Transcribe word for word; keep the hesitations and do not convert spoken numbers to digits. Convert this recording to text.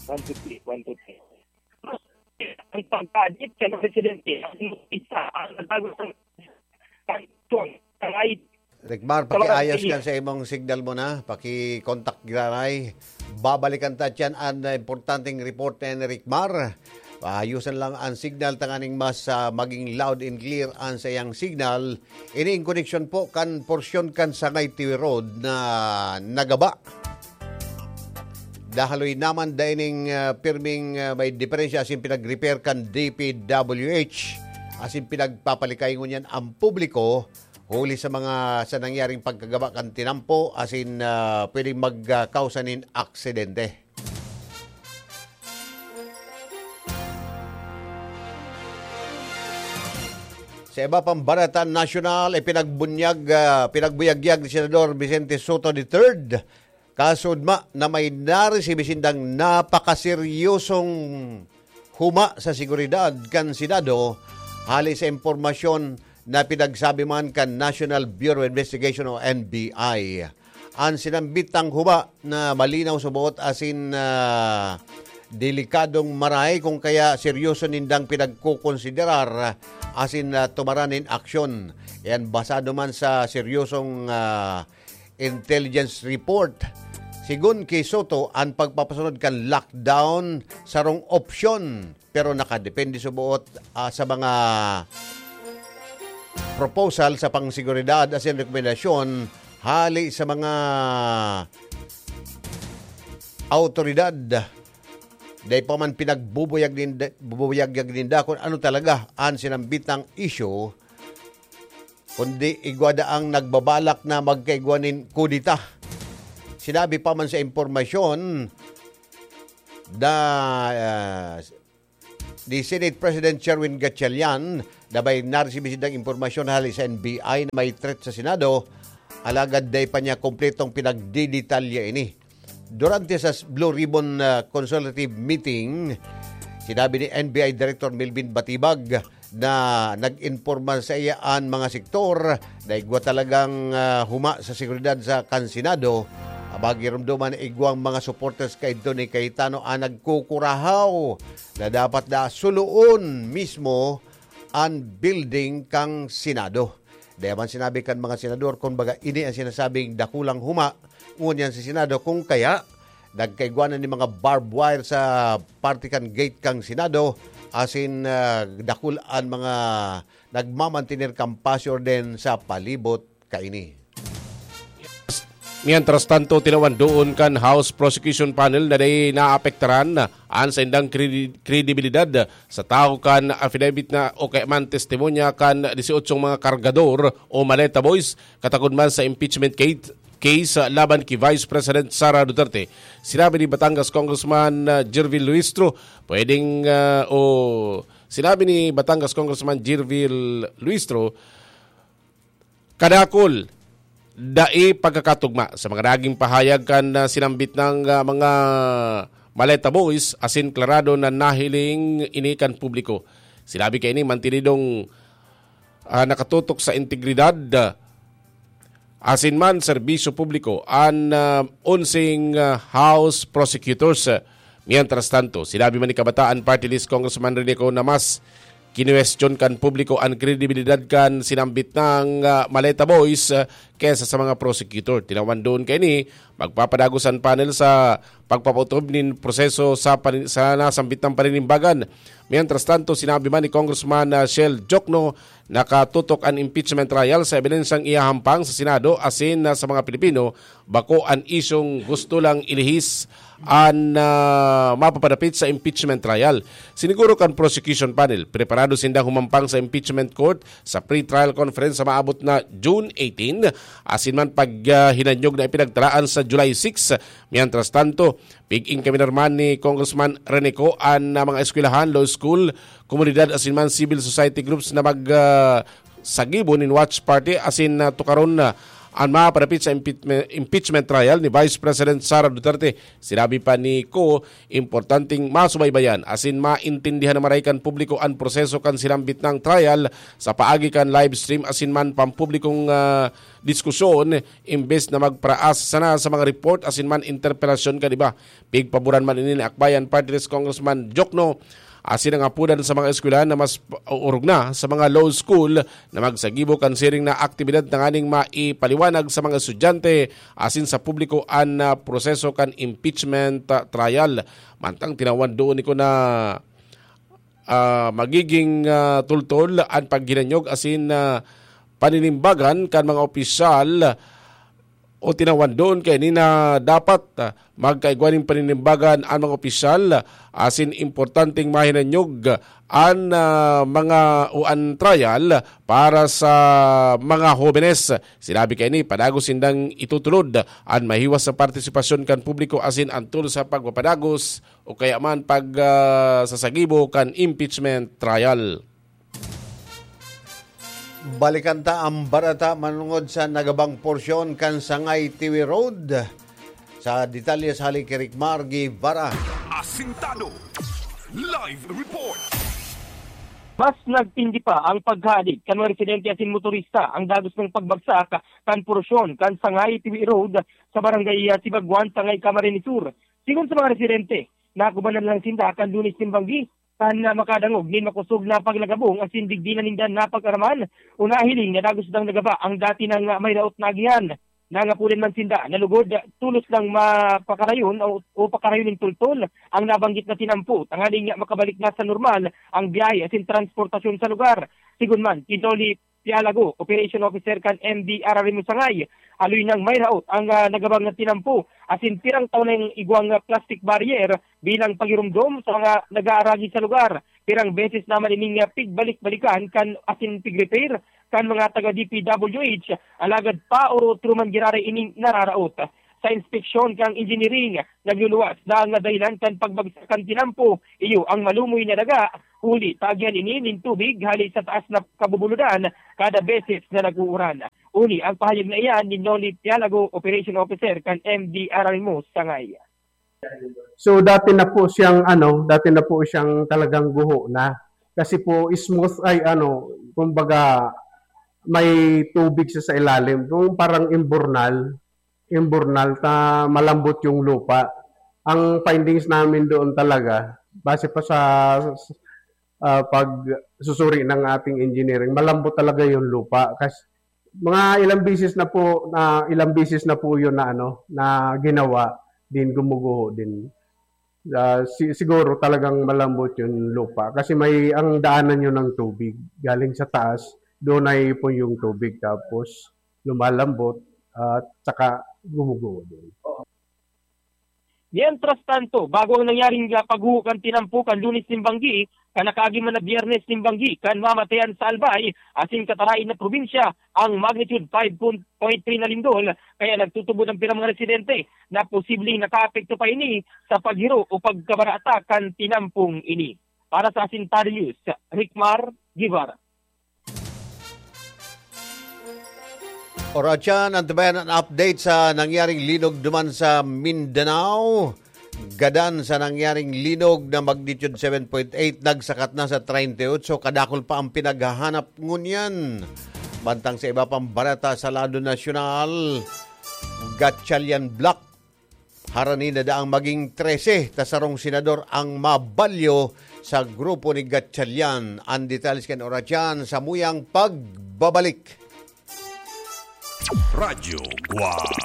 One, two, three. One, two, three. Ang pagkadit sa mga residente, ang isa ang nagbago ng kondisyon sa ride Rikmar, sa mga pakiayas residente. Kan sa imong signal mo na, paki-contact granay. Babalikan ta tiyan an importanteng report ni Rikmar. Paayusan lang ang signal tanganing mas, ah, maging loud and clear ang sa iyang signal. Ini in connection po kan porsyon kan Sangay Tiwi Road na nagaba. Dahaloy naman daining, ah, pirming, ah, may diferensya asin pinag-repair kan D P W H asin pinagpapalikay ngunyan ang publiko huli sa mga sa nangyaring pagkagaba kan tinampo asin, ah, pwedeng magkausa nin aksidente. Sa iba pang balita nasyonal, ipinagbunyag, ah, pinagbuyagyag ni Senador Vicente Sotto the third, kasudma na may naresibi sindang napakaseryosong huma sa seguridad kan Senado hali sa impormasyon na pinagsabi man kan National Bureau of Investigation o N B I. An sinambitang huma na malinaw sa buot asin, ah, delikadong maray kung kaya seryoso nindang pinagkokonsiderar asin, ah, tumaran nin aksyon. Yan basado man sa seryosong, ah, intelligence report. Sigon ki Sotto, an pagpapasunod kan lockdown sarong opsyon, pero nakadepende sa buot, ah, sa mga proposal sa pangseguridad asin rekomendasyon hali sa mga awtoridad. Dai pa man pinagbubuyag ninda, bubuyagyag ninda kung ano talaga an sinambitang isyu, kundi igwa daang nagbabalak na magkaigwa nin kudeta. Sinabi pa man sa impormasyon na, ah, ni Senate President Sherwin Gatchalian na may naresibi sindang impormasyon hali sa N B I na may threat sa Senado, alagad dai pa niya kompletong pinagdidetalya ini. Durante sa Blue Ribbon, ah, Consultative Meeting, sinabi ni N B I Director Melvin Batibag na nag-imporma sa iya an mga sektor na igwa talagang, ah, huma sa seguridad sa kan Senado. Abagiromdoman na igwang mga supporters kaidto ni Cayetano ang nagkukurahaw na dapat na suluon mismo an building kan Senado. Dai man sinabi kan mga senador, kun baga, ini an sinasabing dakulang huma ngunyan sa Senado, kung kaya nagkaigwa na nin mga barbed wire sa parte kan gate kan Senado, asin, ah, dakul an mga nagmamantener kan pasi orden sa palibot kaini. Mientras tanto, tinawan doon kan House Prosecution Panel na dai naapektaran an saindang kredi-, kredibilidad sa tawo kan affidavit na o kaya man testimonya kan dieciocho mga kargador o maleta boys katakod man sa impeachment case, case, ah, laban ki Vice President Sara Duterte. Sinabi ni Batangas Congressman, ah, Jervil Luistro, pwedeng, ah, o sinabi ni Batangas Congressman Jervil Luistro, kadakul, dai pagkakatugma sa mga naging pahayag kan, ah, sinambit ng, ah, mga maleta boys asin klarado na nahiling ini kan publiko. Sinabi kaini, mantinidong, ah, nakatutok sa integridad, ah, asin man serbisyo publiko an, ah, onseng, ah, House Prosecutors. Mientras tanto, sinabi man ni Kabataan Party List Congressman Rene Co na mas kinuwestiyon kan publiko an kredibilidad kan sinambit ng, ah, Maleta Boys, ah, kesa sa mga prosecutor. Tinawan doon kaini, magpapadagos an panel sa pagpapaotob nin proseso sa pani-, sa nasambit ng paninimbagan. Mientras tanto, sinabi man ni Congressman, ah, Shell Jokno, nakatutok an impeachment trial sa ebidensyang ihahampang sa Senado asin, ah, sa mga Pilipino, bako an isyung gusto lang ilihis an, ah, mapapadapit sa impeachment trial. Siniguro kan prosecution panel, preparado sindang humampang sa impeachment court sa pre-trial conference sa maabot na June eighteen, asin man pag, ah, hinanyog na ipinagtalaan sa July six. Mientras tanto, pig-ingkaminar man ni Congressman Rene Co an, ah, mga eskwelahan, law school, komunidad asin man civil society groups na mag, ah, sagibo nin watch party asin, ah, tukaron na an maparapit sa impeachment, impeachment trial ni Vice President Sara Duterte. Sinabi pa ni Koo, importanteng masubaybayan asin maintindihan na maray kan publiko an proseso kan sinambit nang trial sa paagi kan live stream asin man pampublikong, ah, diskusyon, imbes na magparaas sana sa mga report asin man interpretasyon kan iba. Pigpaboran man ini ni Akbayan Party List Congressman Jokno asin ang apudan sa mga eskwelahan na mas pa-, orog na sa mga law school na magsagibo kan siring na aktibidad tanganing maipaliwanag sa mga estudyante asin sa publiko an, ah, proseso kan impeachment, ah, trial. Mantang tinawan doon ni Koo na, ah, magiging, ah, tultol an paghinanyog asin, ah, paninimbagan kan mga opisyal o tinawan doon kaini na dapat, ah, magkaigwa nin paninimbagan an mga opisyal, asin importanteng mahinanyog an, ah, mga o an trial para sa mga hobenes. Sinabi kaini, padagos sindang itutulod an mahiwas sa partisipasyon kan publiko asin an tool sa pagpapadagos o kaya man pag, ah, sasagibo kan impeachment trial. Balikan ta ang bareta manungod sa nagabang porsyon kan Sangay Tiwi Road. Sa detalye sa hali ki Ricmar Guevara. Asintado. Live report. Mas nagtindi pa ang paghadik kan mga residente asin motorista ang dagos ng pagbagsak kan porsyon kan Sangay Tiwi Road sa barangay, ah, Sibagwan, Sangay, Camarines Sur. Sigon sa mga residente, nakubanan lang sinda kan Lunes nin banggi kan, ah, makadangog nin makosog na paglagabong asin digdi na ninda napag-araman o nahiling na dagos dang nagaba ang dati nang, ah, may raot na agihan. Nangapulan man sinda na lugod, tolos lang mapakarayon o, o pakarayon nin tultol ang nabanggit na tinampo, tanganing makabalik na sa normal ang biyahe asin transportasyon sa lugar. Sigon man ki Noli Pialago, Operation Officer kan M D R R M Sangay, haloy nang may raot ang, ah, nagabang na tinampo, asin pirang taon na yung igwang, ah, plastic barrier bilang pagirumdom sa mga nag-aaragi sa lugar. Pirang beses naman ining, ah, pigbalik-balikan kan asin pigrepair kan mga taga D P W H, alagad paorot-oro man giraray ining nararaot. Sa inspeksyon kan engineering, nagluluwas na ang dahilan kan pagbagsak kan tinampo, iyo ang malumoy na daga, huli ta agihan ini nin tubig hali sa taas na kabubuludan kada beses na nag-uuran. Uni ang pahayag na iyan ni Noli Pialago, Operation Officer kan M D R R M Sangay. So, dati na po siyang, ano, dati na po siyang talagang guho na. Kasi po, smooth ay, ano, kumbaga, may tubig siya sa ilalim. Kung parang imburnal, imburnal, ta malambot yung lupa. Ang findings namin doon talaga, base pa sa, ah, pagsusuri ng ating engineering, malambot talaga yung lupa. Kasi mga ilang bisis na po, na ilang bisis na po yun na, ano, na ginawa, din gumuguho din. Ah, si-, siguro talagang malambot yung lupa kasi may, ang daanan yun ng tubig. Galing sa taas, doon naiipon yung tubig tapos lumalambot at saka gumuguho din. Mientras tanto, bago ang nangyaring, ah, pagguho kan tinampo kan Lunes nin banggi, kan nakaagi man na Biyernes nin banggi, kan mamatayan sa Albay, asin katarain na probinsya, ang magnitude five point three na lindol, kaya nagtutubod ang pirang mga residente na posibleng nakaapekto pa ini sa paghiro o pagkabarata kan tinampong ini. Para sa Asintado News, Ricmar Guevara. Oras yan, antabayan ang update sa nangyaring linog duman sa Mindanao. Gadan sa nangyaring linog na magnitude seven point eight, nagsakat na sa treinta y ocho, kadakul pa ang pinaghahanap ngunyan. Bantang sa iba pang bareta sa lado nasyonal, Gatchalian Block, harani na daang maging trese ta sarong senador ang mabalyo sa grupo ni Gatchalian. Ang detalye kan oras yan sa muyang pagbabalik. Radyo Guwang.